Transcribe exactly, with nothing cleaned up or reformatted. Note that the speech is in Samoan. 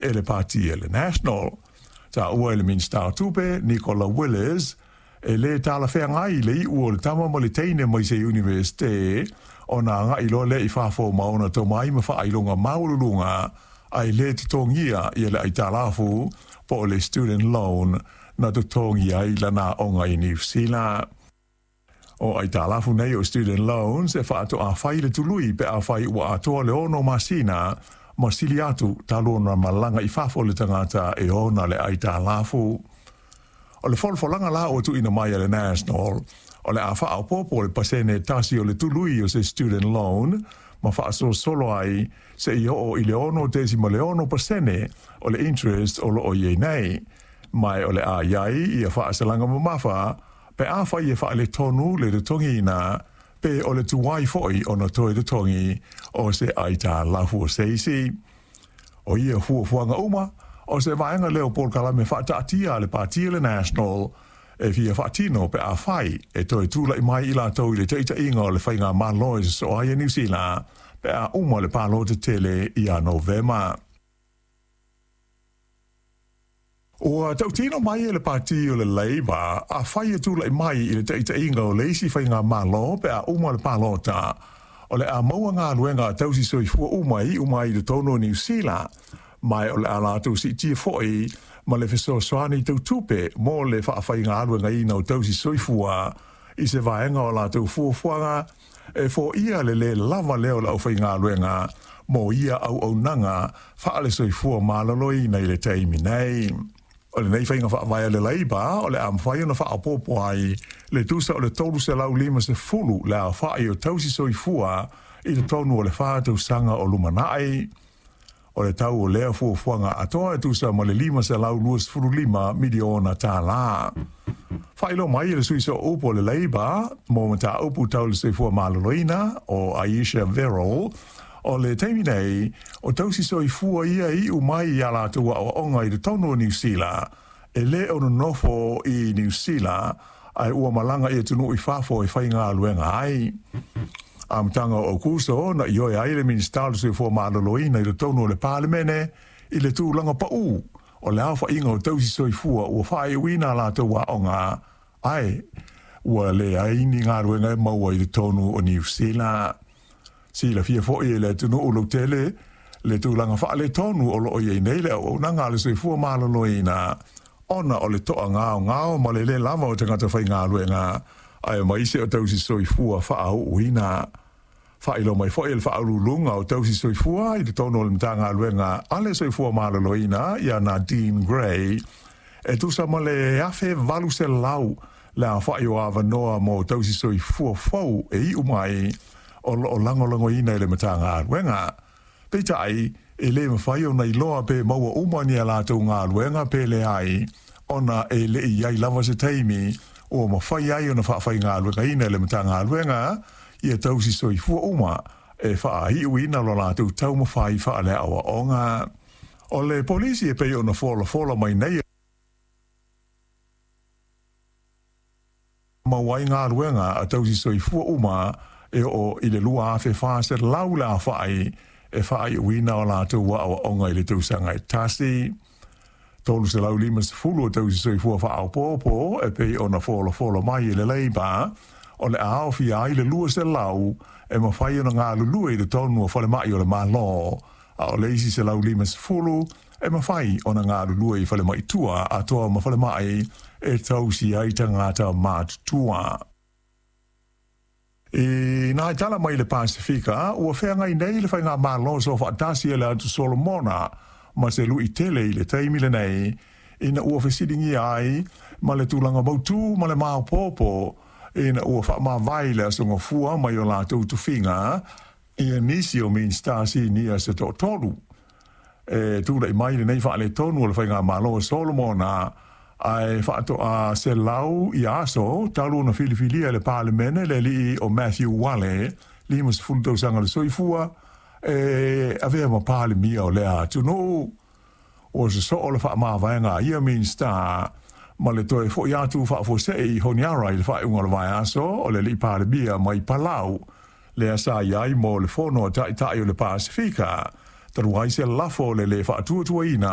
E le pati e le National. Taua e le Minista o Tupe, Nicola Willis, e lē talafeagai le iʻu o le tama ma le teine mai se iunivesite ona agaʻi loa lea i fafo ma ona tomai ma faailoga maualuluga ae lē totogia ia le aitalafu po o le student loan na totogi ai lana aoga i Niusila. O aitalafu nei o student loans e faatoa fai le tului pe afai ua atoa le ono masina ma sili atu talu ona malaga i fafo le tagata e ona le aitalafu. O le folafolaga la ua tuuina mai e le National, o le a faaopoopo le pasene tasi o le tului o se student loan ma faasolosolo ai seia oo i le ono tesima le ono pasene o le interest o loo i ai nei. Ma o le a i ai ia faasalaga mamafa pe afai e faaletonu le totogiina pe o le tuai foi ona toe totogi o se aitalafu o se isi. O ia fuafuaga uma, o se vaega lea o polokalame faataatia a le pati o le National e fia faatino pe afai e toe tulaʻi mai i latou i le taʻitaʻiga o le faigamalo e sosoo ai e Niusila pe a uma le palota tele ia Novema. Ua tautino mai e le pati o le Labour afai e tulaʻi mai i le taʻitaʻiga o le isi faigamalo pe a uma le palota, o le a maua galuega a tausi soifua uma e iʻu mai i totonu o Niusila, ma o le a latou siitia foi ma le fesoasoani tau tupe mo le faafaigaluegaina o tausi soifua i se vaega o latou fuafuaga e foia le lē lava lea o le aufaigaluega mo ia auaunaga faale-soifua maloloina i le taimi nei. O lenei faiga faavae a le Labour o le a mafai ona faaopoopo ai le tusa o le tolu selau lima sefulu le aofaʻi o tausi soifua i totonu o le fa tausaga o lumanaʻi. O le tau o lea fuafuaga atoa e tusa ma le lima selau luasefulu lima miliona tālā. Faailoa mai e le sui sooupu o le Labour mo mataupu tau le soifua maloloina o Ayesha Verrall, o le taimi nei o tausi soifua ia e iʻu mai i a latou aoaoga i totonu o Niusila e lē o nonofo i Niusila ae ua malaga i atunuu i fafo e faigaluega ai. Amataga o Aukuso na ioe ai le Minisita o le Soifua Maloloina i totonu o le Palemene i le tulaga paʻū o le aofaiga o tausi soifua ua faaiuina a latou aoga ae ua leai ni galuega e maua i totonu o Niusila. Silafia foi e le atunuu lautele le tulaga faaletonu o loo i ai nei le auaunaga a le soifua maloloina ona o le toagaogao ma le lē lava o tagata faigaluega aemaise o tausi soifua faauuina. Faailoa mai foi e le faauluuluga o tausi soifua i totonu o le Matagaluega a le Soifua Maloloina ia Nadine Gray, e tusa ma le afe valu selau le aofaʻi o avanoa mo tausi soifua fou e iʻu mai o loo lagolagoina e le Matagaluega. Peitai, e lē mafai ona iloa pe maua uma ni a latou galuega pe leai, ona e leʻi i ai lava se taimi ua mafai ai ona faafaigaluegaina e le Matagaluega ia tausi soifua uma e faaiuina lo latou taumafai faaleaoaoga. O le polisi e pei ona folafola mai nei e maua ai galuega a tausi soifua uma e oo i le lua afe fa selau le aofaʻi e faaiuina o latou aoaoga i le tausaga e tasi. Tolu selau lima sefulu o tausi soifua faaopoopo e pei ona folafola mai e le Labour o le a aofia ai le lua selau e mafai ona galulue i totonu o falemaʻi o le Malo, a o le isi selau lima sefulu e mafai ona galulue i falemaʻi tua atoa ma falemaʻi e tausi ai tagata matutua. I nā tala mai le Pasifika, ua feagai nei le faigamalo soofaatasi a le Atu Solomona ma se luʻi tele i le taimi lenei ina ua fesiligia ai ma le tulaga mautū ma le maopoopo ina ua faamavae i le Aso Gafua mai o latou tofiga ia nisi o Minisita sinia se toatolu. E tulaʻi mai lenei faaletonu o le faigamalo a Solomona ae faatoa selau ia aso talu ona filifilia e le Palemene le alii o Matthew Wale, lima sefulu tausaga le soifua, e avea ma Palemia o lea atunuu. Ua sosoo le faamavaega a ia Minisita ma le toe foʻi atu faafuasei i Honiara i le faaiuga o le vaiaso o le alii Palemia mai Palau, lea sa i ai mo le fono a taitai o le Pasifika Talu ai se lafo o le lē faatuatuaina.